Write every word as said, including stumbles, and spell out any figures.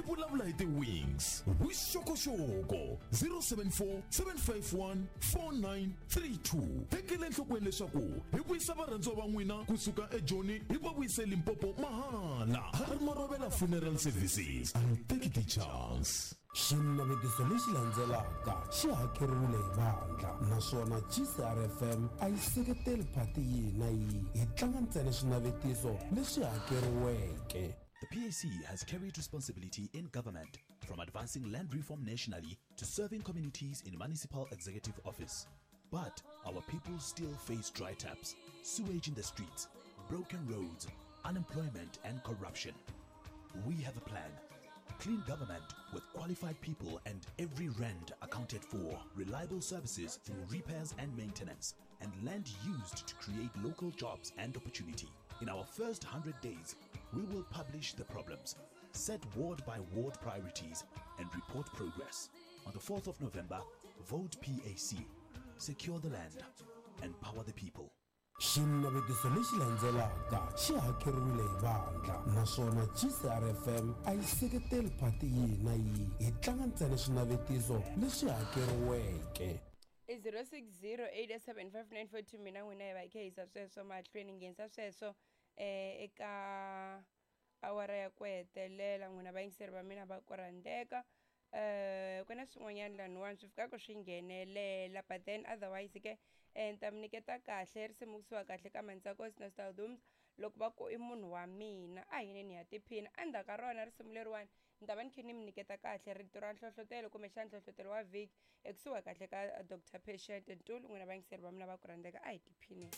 Vulavula hi ti-wings. Vuxokoxoko zero seven four, seven five one, four nine three two. Tekela enhlokweni leswaku hi vuyisa varhandziwa va n'wina kusuka eJoni hi va vuyise Limpopo mahala. Harry Marobela Funeral Services. I'll take the chance. Xinavetiso lexi landzelaka xi hakeriwile hi vandla naswona G C R F M a yi seketeli phati yihi na yihi, hi tlanga ntsena swinavetiso leswi hakeriweke. The P A C has carried responsibility in government, from advancing land reform nationally to serving communities in municipal executive office. But our people still face dry taps, sewage in the streets, broken roads, unemployment and corruption. We have a plan. Clean government with qualified people and every rand accounted for, reliable services through repairs and maintenance, and land used to create local jobs and opportunity. In our first hundred days, we will publish the problems, set ward by ward priorities, and report progress. On the fourth of November, vote P A C. Secure the land. Empower the people. Xinavetiso lexi landzelaka xi hakeriwile hi vandla naswona G C R F M a yi seketeli phati yihi na yihi, hi tlanga ntsena swinavetiso leswi hakeriweke. I zero six zero eight seven five nine four two. Mina n'wina hi va hi kha hi yisa sweswo mahlweni, nghenisa sweswo, eh, eka awara ya ku hetelela. N'wina vayingiseri va mina va ku rhandzeka. Eh, ku na swin'wanyana laniwani swi fikaka swi nghenelela, but then otherwise ke, eh, ni ta mi nyiketa kahle risimu kusuka kahle ka Mantsako Nostal Dooms loko va ku i munhu wa mina, a hi yineni ya tiphina. Endzhaku ka rona risimu leriwani ni ta va ni kha ni mi nyiketa kahle rito ra nhlohlotelo kumbexana nhlohlotelo wa vhiki ekusuhi kahle ka Doctor Patient Ntuli. N'wina vayingiseri va mina va ku rhandzeka, a hi tiphineni.